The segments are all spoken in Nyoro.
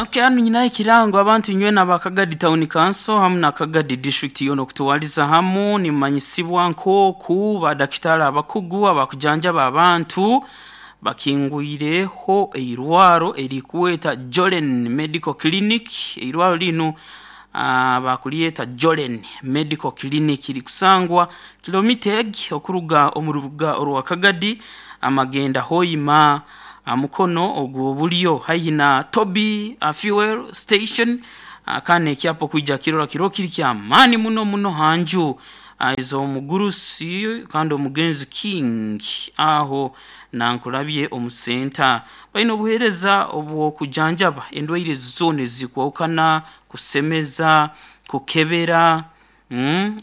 Okay, hanu nyinaho ekirango. Abantu inywena aba Kagadi Town Council hamu na Kagadi District yoona okutwaliza hamu, nimumanyisibwa nk'oku badakitaali abakugu abakujanjaba abantu bakingwireho eirwaro erikweta Jolen Medical Clinic. Eirwaro linu bakulyeta Jolen Medical Clinic, rikusangwa kilomita egi okuruga omu rubuga orwa Kagadi amagenda Hoima aha mukono ogw'obulyo haihi na Toby Fuel Station. Kandi n'ekyapa okwija kukirora kiroho kiri ky'amaani muno muno ha nju ez'omugurusi kandi omugenzi King aho Nankulabye omu center. Baine obuheereza obw'okujanjaba endwaire zoona ezikwahukana, kusemeza, kukebera,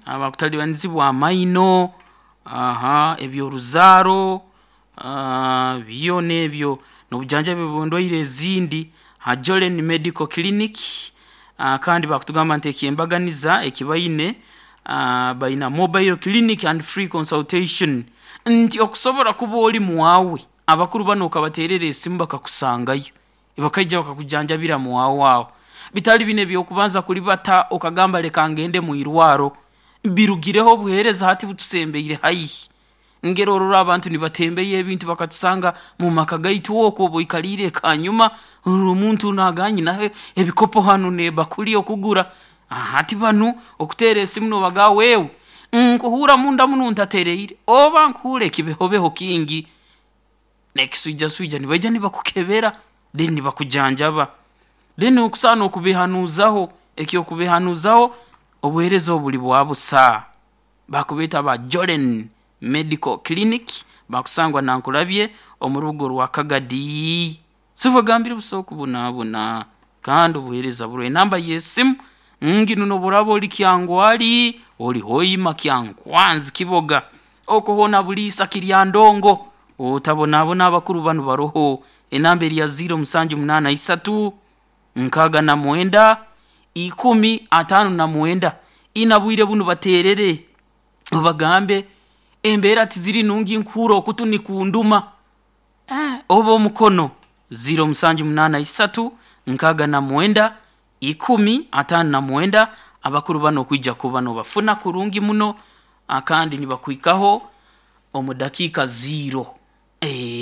abakutalibanizibwa amaino, eby'oruzaaro, byona ebyo n'obujanjabi obw'endwaire ezindi ha Jolen Medical Clinic. Kandi bakutugamba nti eky'embaganiza eki baine, baina mobile clinic and free consultation, nti okusobora kuba ori mwawe, abakuru banu okabateerera esimu bakakusangayo, bakaija bakakujanjabira mwawe aho, bitali binu eby'okubanza kuribata okagamba leka ngende mwirwaro. Birugireho, obuheereza hati butusembeire haihi. Ngera orora abantu nibatembeya ebintu bakatusanga mu maka gaitu oku oba oikaliire ekanyuma orora omuntu naagamba nyinaho ebikopo hanu n'ebakuli okugura. Hati banu okuteera esimu nobagamba wewe nkuhuura munda munu ntatereire oba nkuhuura ekibehobeho kingi n'ekiswijakiswija, nibaija nibakukebera then nibakujanjaba. Then okusobola n'okubehanuuzaho, eky'okubehanuuzaho obuheereza obu buri bwa busa. Bakubeeta aba Jolen Medical Clinic, bakusangwa Nankulabye omu rubuga orwa Kagadi. Sibagambire busa okubonabona kandi obuheereza buroho. Enamba y'esimu nginu nobu oraaba ori Kyangwali, ori Hoima, Kyankwanzi, Kiboga, okwo hoona Buliisa, Kiryandongo, otabonabona abakuru banu baroho. Enamba eri ya ziiro musanju munaana isatu, 69, 10 59. Ina bwire bunu bateerere obagambe embeera tiziri nungi nkuhuura okutu nikunduma oba omukono 0783 69 10 59. Abakuru banu okwija kuba nobafuna kurungi muno kandi nibakuhikaho omu dakiika ziiro.